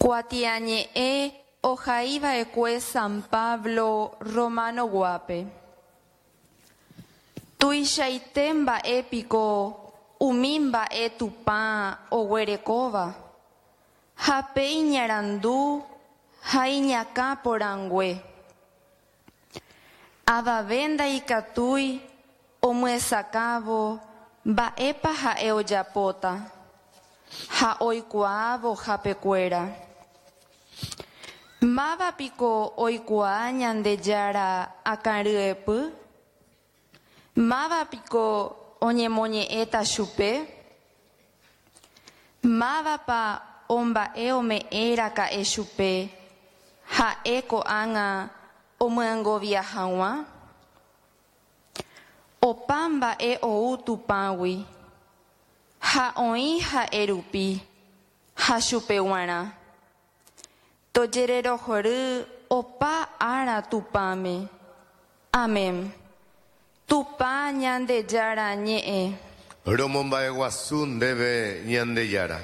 Kuatiañe'ẽ ohaiva'ekue San Pablo Romano-guápe. Tuichaite mba'e piko umi mba'e Tupã oguerekóva, ha pe iñarandu ha iñakã porãngue. Avave ndaikatúi omyesakãvo mba'épa ha'e ojapóta ha oikuaávo hapekuéra. Máva piko oikuaa Ñandejára akãryepy? Máva piko oñemoñe'ẽta chupe? Mávapa omba'e ome'ẽ raka'e chupe ha'e ko'ág̃a omyengovia hag̃ua? Opa mba'e ou Tupãgui, ha oĩ ha'e rupi ha chupe g̃uarã. Tojererohory opa ára Tupãme. Amén. Tupã Ñandejára ñe'ẽ. Romomba'eguasu ndéve Ñandejára.